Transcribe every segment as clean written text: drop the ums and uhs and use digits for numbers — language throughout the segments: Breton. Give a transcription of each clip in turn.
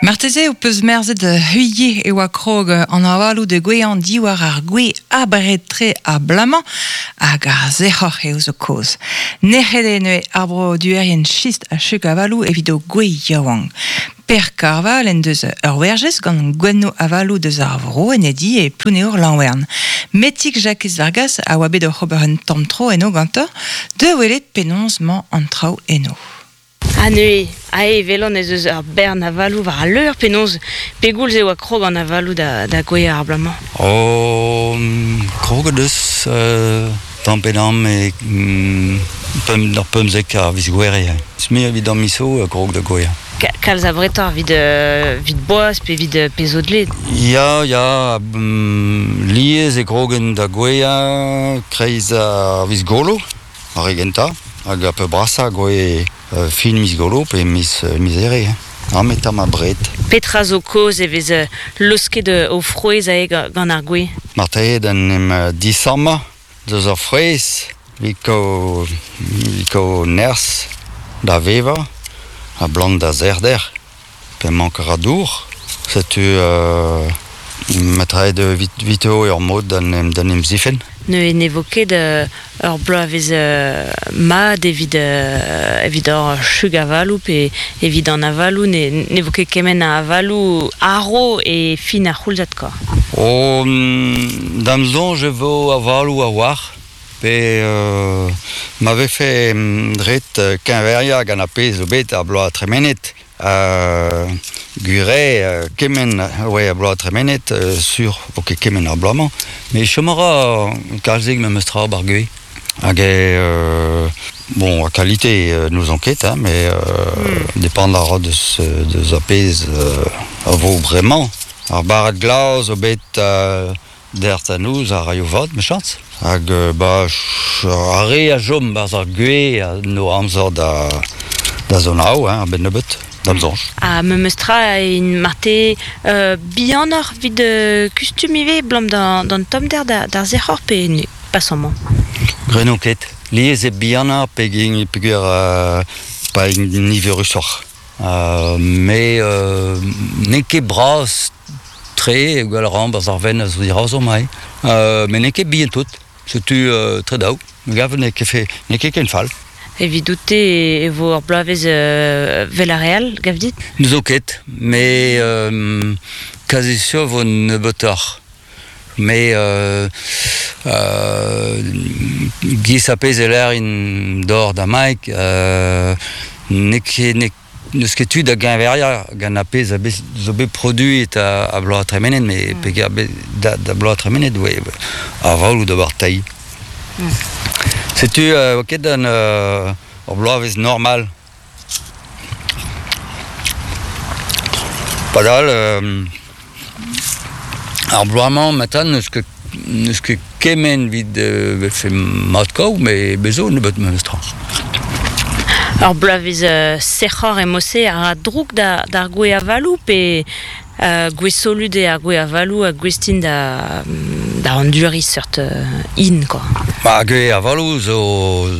Marteze ho peus merzet c'hwi e oa krog an avaloù da gouezhañ diwar ar gwez abred-tre abalamour hag ar sec'hoc'h eo zo kaoz. Nec'het eo neuze ar broduerien chist ha chug avaloù evit o gwez yaouank. Per Karval en deus ur werjez gant gwennoù avaloù deus ar vro en e di e Plouneour-Lanwern. Metig Jakez Vargas a oa bet oc'h ober un tamm tro eno gantañ da welet penaos 'mañ an traoù eno. Ha neuze, aze e welan ez eus ur bern avaloù war al leur, penaos, pegoulz e oa krog an avaloù da, da gouezhañ ar bloaz-mañ? Oh, kroget eus tamm pe damm e pemp, d'ar 15 a viz Gouere. Me evit ar miz-zo krog da gouezhañ. Kalz abretoc'h evit, evit boaz pe evit pezh zo dleet? Ya, ya, lies e krogen da gouezhañ kreiz ar viz Golo. Ar re gentañ hag ar peurbrasañ gouez fin miz Golo pe miz miz Here. Amañ tamm abred. Petra zo kaoz e vez laosket o frouezh aze gant ar gwez? Marteze d'en em disammañ deus ar frouezh evit kaout nerzh da vevañ ha blant da sec'hder. Pe mank a ra dour. Setu metraet evito ur mod d'en em zifenn. Neuze ne vo ket ur bloavezh mat evit evit hor chug avaloù pe evit an avaloù ne, ne vo ket kement a avaloù aro e fin ar c'houlzad kwa. Oh, da'm soñj e vo avaloù a-walc'h pe ma vefe ret keñveriañ gant ar pezh zo bet ar bloaz tremenet Gwir eo, kement oa ar bloaz tremenet, sur vo ket kement ar bloaz-mañ, met chom a ra kalzik memes tra 'bar gwez. Hag eo, bon, a qualité n'ouzon ket, hein, mais depend a ra deus, deus ar pezh a vo bremañ. Ar barrad glas zo bet Dec'h da noz a raio vat, mechañs. Hag ba ar re a chom 'barzh ar gwez a no amzer da da zonaou, hein, a-benn nebeut, da'm soñj. Ha memes tra int marteze bihanoc'h evit kustum ivez, 'blam d'an tommder d'ar sec'hor pe ne pas amañ? Grenomp ket. Lies eo bihanañ peogwir pa int niverusoc'h. Mais n'eo ket bras tre gwell a ran 'barzh ar vein a zo dirazomp aze. Met n'eo ket bihan tout. Setu tre daou. Me gav n'eo ket fe, n'eo ket ken fall. Evidout-te e vo ur bloavezh 'vel ar re all, gav dit? N'zo ket, mais kazi sur vo nebeutoc'h. Mais giz ar pezh e lârin d'or da Mike, n'eo ket n'eus ket tu da geñveriañ gant ar pezh a zo bet produet a bloaz tremenet, mais peger da, da bloaz tremenet, ouais, ar valoù d'ober teil. Setu oa ket an ur bloavezh normal. Padal ar bloaz-mañ matin n'eus ket n'eus ket kement evit vefe mat-kaout met bez zo nebeut memestra. Ur bloavezh sec'hoc'h emañ-se a ra droug d'ar gwez avaloù pe gwez solut eo ar gwez avaloù ha gouest int da da anduriñ seurt hin quoi. Ba gwez avaloù zo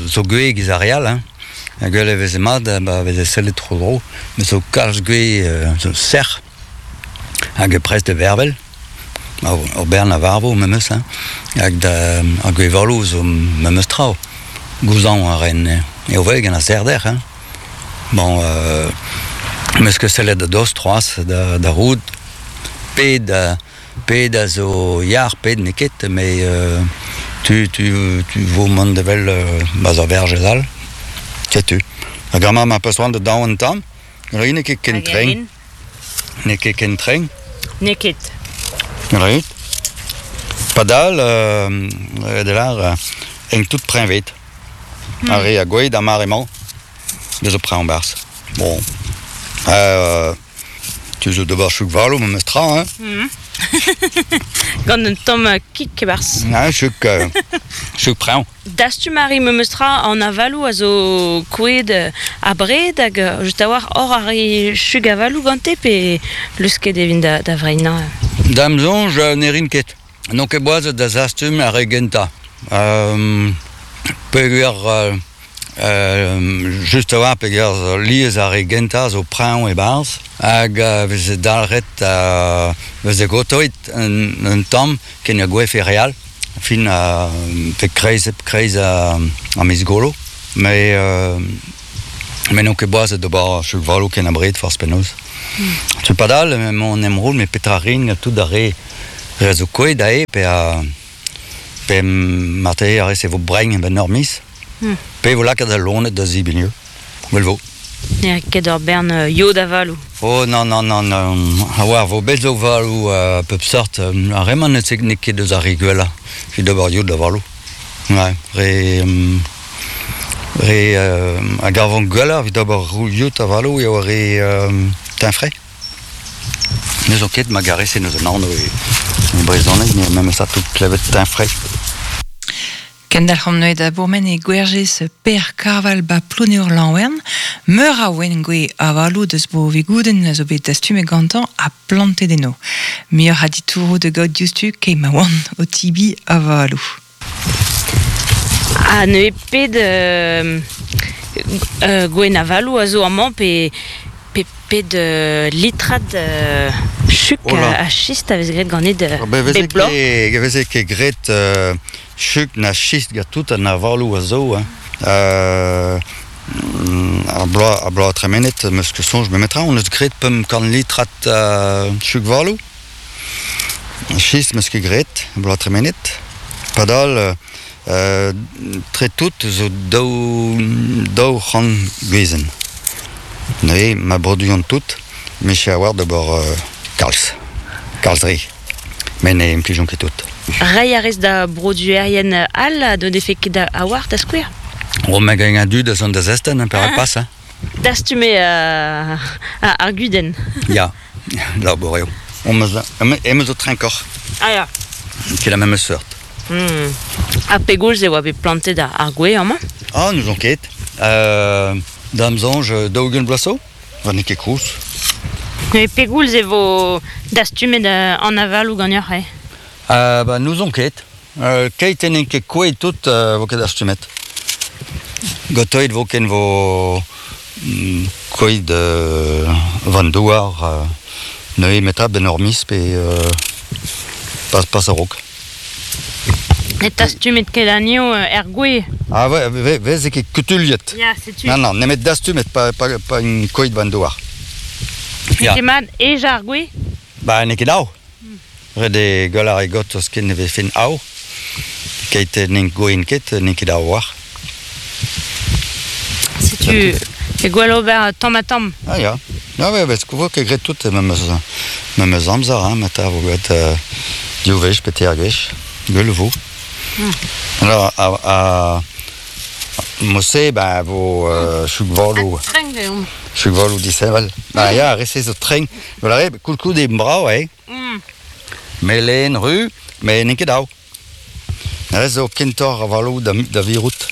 zo gwez giz ar re all hein. Gwell e veze mat ba veze sellet tro-dro, met zo kalz gwez zo sec'h hag prest da vervel. Ur bern a varvo memes hein, hag da ar gwez-valoù zo memes tra. Gouzañv a ren eo vel gant ar sec'hder hein. Bon 'meus ket sellet a-dost c'hoazh da da roud pet pet a zo yac'h, pet n'eo ket, met tu, tu, tu vo mont evel 'barzh ar verjez all. Setu. Hag amañ ma peus c'hoant da daou un tamm, n'eo ket ken trenk. N'eo ket ken trenk. N'eo ket. Ret. Padal, de lar, en tout preñved. Ar re a gouez d'ar mare-mañ, deus o preñv 'barzh. Bon. Tu zo d'ober chouk-valo memes tra, hein? Gant un tamm kig e-barzh. Ah, chouk, chouk preñv. Dastum a ri memes tra an avaloù a zo kouezhet abred hag just a-walc'h hor a ri chug avaloù gante pe leusket e vint da, da vreinañ? Da'm soñj ne rin ket. N'on ket boazet da zastum ar re gentañ. Peogwir Just a-walc'h peger lies ar re gentañ zo preñv e-barzh hag veze dalc'het veze gotoet un tamm ken a gouezfe re all fin pe kreiz kreiz ar miz golo met me n'on ket boazet d'ober chug-valoù ken abred forzh penaos. Setu padal emaon en em roll met petra 'rin tout ar re re a zo kouezhet aze pe pe marteze ar re-se vo brein a-benn ur miz. Pe vo lakaet al loened da zebriñ ivez, gwell vo. Ne ket ur bern yod avaloù. Oh non, non, non, non. A oar vo bet zo avaloù a pep seurt. Ar re-mañ n'eo ket eus ar re gwellañ evit ober yod avaloù. Ouais, re re a gavan gwelloc'h evit ober yod avaloù eo re teñfre. N'eus ket ma garese n'eus un anv e brezhoneg, met memes tout klevet teñfre. Kendalc'homp neuze da bourmen e gwerjez Per Karval ba Plouneour-Lanwern. Meur a ouenn gwez avaloù deus bro Vigoudenn a zo bet dastumet gantañ ha plantet eno. Muioc'h a ditouroù da gaout diouzhtu keit ma oant o tibiñ avaloù. Ha neuze pet gouenn avaloù a zo amañ pe pe pet litrad chuk ha chist a vez graet ganit bep bloaz? Ne veze ket graet Chug na chist gant tout an avaloù a zo hein. Ar bloaz, ar bloaz tremenet 'm eus ket soñj memetra hon eus graet 500 litrad chug-valoù. Chist 'm eus ket graet bloaz tremenet. Padal tre tout zo daou 200 gwezenn. Neuze ma broduan tout, me a oar d'ober kalz, kalz re. Met ne implijan ket tout. Reiñ a rez da broduerien all ha n'o defe ket a-walc'h da skouer? Oh, me gagne un du da zont da zestenn, hein, perak pas, hein. Dastume ar gudenn. Ya, labour eo. Em eus zo trinkoc'h. Ah ya. Ket la même seurt. Ha pegoulz e oa bet plantet ar gwez amañ? Ah, n'ouzon ket. Da'm soñj, 40 vloaz zo. Va n'eo ket koulz. Met pegoulz e vo dastumet an avaloù ganeoc'h eh? Ba n'ouzon ket. Keit n'int ket kouezhet tout vo ket dastumet. Gantoet vo ken vo kouezhet war an douar neuze metra benn ur miz pe pas a-raok. Ne dastumet ket anezho er gwez? Ah ouais, veze ket kutuilhet. Ya, setu. Non, non, nemet dastumet, pa, pa, pa un koid war an douar. Ya. N'eo ket mat ejañ ar gwez? Ba, n'eo ket dav. Ret eo gwell ar gortoz ken e vefen av. Keit n'int gouin ket, n'eo ket dav war. Setu, e gwell ober tamm-ha-tamm. Ah ya. Ah ouais, parce que vo ket graet tout memes, memes amzer, hein, matin vo graet div wech pe teir gwech. Gwell vo. Alors, a, mo-se, ben, vo chug-valoù. Trenk deomp. Chug-valoù disheñvel. Ba ya, ar re-se zo trenk. Voilà, koulskoude brav eo. Melen ru, met n'eo ket dav. Re zo kentoc'h avaloù da, da virout.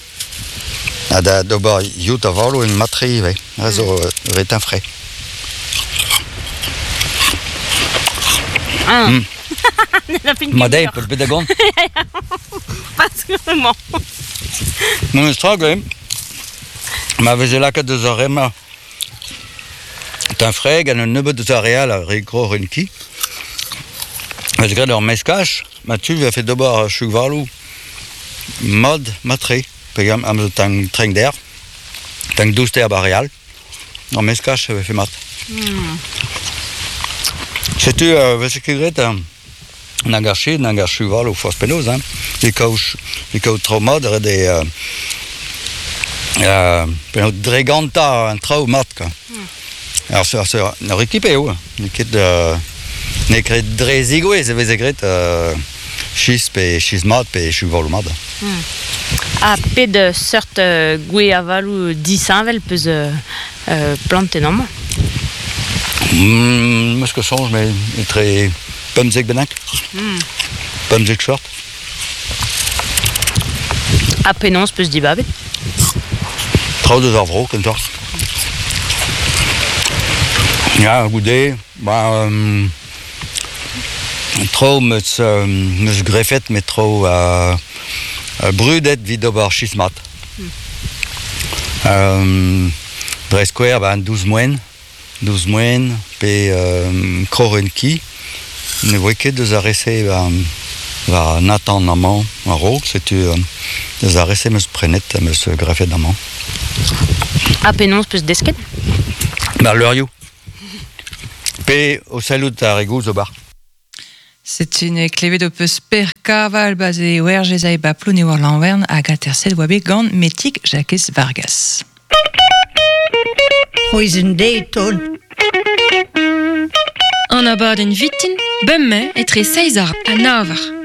Ha da d'ober yout avaloù en matre ivez. Re zo re frais. Ah. Ma dezhi, peus bet da gont? Pas vraiment. Memes tra, gant. Ma veze lakaet deus ar re-mañ Tinfreg gant un nebeud deus ar re all, ar re groc'hen ki. Vez graet ur meskaj, ma tu vefe d'ober chug-valoù mat, mat-tre, pe am zo trenk der, tank douster ba re all. Ur meskaj e vefe mat. Setu veze ket graet nag ar ched nag ar chuvaloù forzh penaos hein. E kaout traoù mat ret eo penaos dregantañ an traoù mat kwa. Ar ur ekip eo, n'eo ket n'eo ket dre zigouezh e veze graet chistr pe chistr mat pe chuvaloù mat. Ha pet seurt gwez avaloù disheñvel 'peus plantet amañ? 'Meus ket soñj met etre 15 bennak. 15 seurt. Ha penaos 'peus dibabet? Traoù deus ar vro kentoc'h. Ya, goude, ba Traoù 'meus 'meus grefet met traoù brudet evit ober chistr mat. Dre skouer, ba, an douz moen, douz moen, pe kroren ki, ne voe ket deus ar re-se ba, war Nathan amañ a-raok, setu deus ar re-se 'm eus prenet, 'm eus grafet amañ. Ha penaos 'peus desket? Ba leurioù. Pe o sellout ar re gozh ober. Setu ne klevet ho peus Per Kaval ba ze werjez ae ba Plouneour Lanwern hag aterset oa bet gant Metig Jakez Vargas. C'hwezh deiz taol. An abadenn vitin, bemdez etre seizh ha nav eur.